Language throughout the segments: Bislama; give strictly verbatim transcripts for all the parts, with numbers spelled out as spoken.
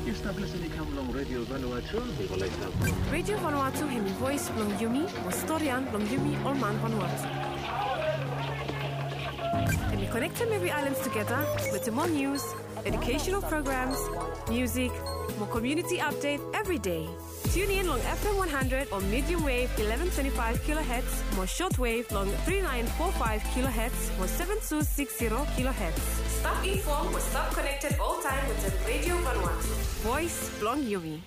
Stap lesen i kam long Radio Vanuatu. Radio Vanuatu hemi voes blong yumi, mo storian blong yumi ol man Vanuatu. Hemi konektem evri aelan tugeta wetem mol nius, educational programs, music, mo community update every day. Tune in long F M one hundred o medium wave eleven twenty-five kilohertz mo short wave long three nine four five kilohertz mo seven two six zero kilohertz. Stap inform mo stap connected all time wetem Radio Vanuatu. Voes blong yumi.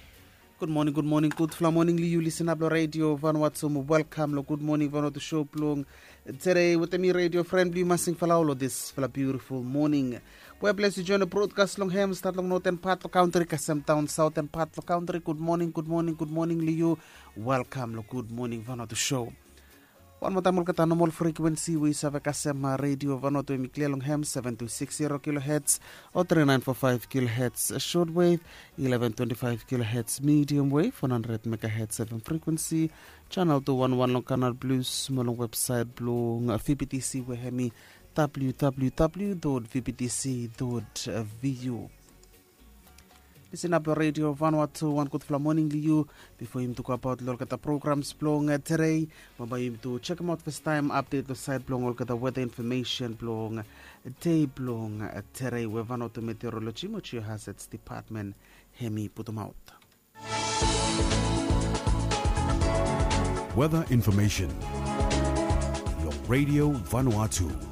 Gud moning, gud moning, gudfala moning long yu listener blong Radio Vanuatu. Welkam long Gud Moning Vanuatu show blong today wetem mi radio friend blong yu Masing Falau long disfala beautiful moning. We ples yu join long broadcast long hem, stat long northern part long country kasem daon southern part long country. Gud moning, gud moning, gud moning long yu. Welkam long Gud Moning Vanuatu show. Wan moa taem olgeta nomol frekuensi we yu save kasem Radio Vanuatu, hemi klia long hem seven two six zero kilohertz o three nine four five kilohertz short wave, eleven twenty-five kilohertz medium wave, one hundred megahertz F M frequency, channel two one one long Canal Plus mo long website blong V B T C we hemi W W W dot V B T C dot V U. Listener blong Radio Vanuatu, wan gudfala moning long yu. Bifo yumi tu go abaot long olgeta programs blong today, bambae yumi tu jekemaot fastaem update long saed blong olgeta weather information blong dei blong today we Vanuatu Meteorology mo Geohazards Department hemi putumaot. Weather information long Radio Vanuatu.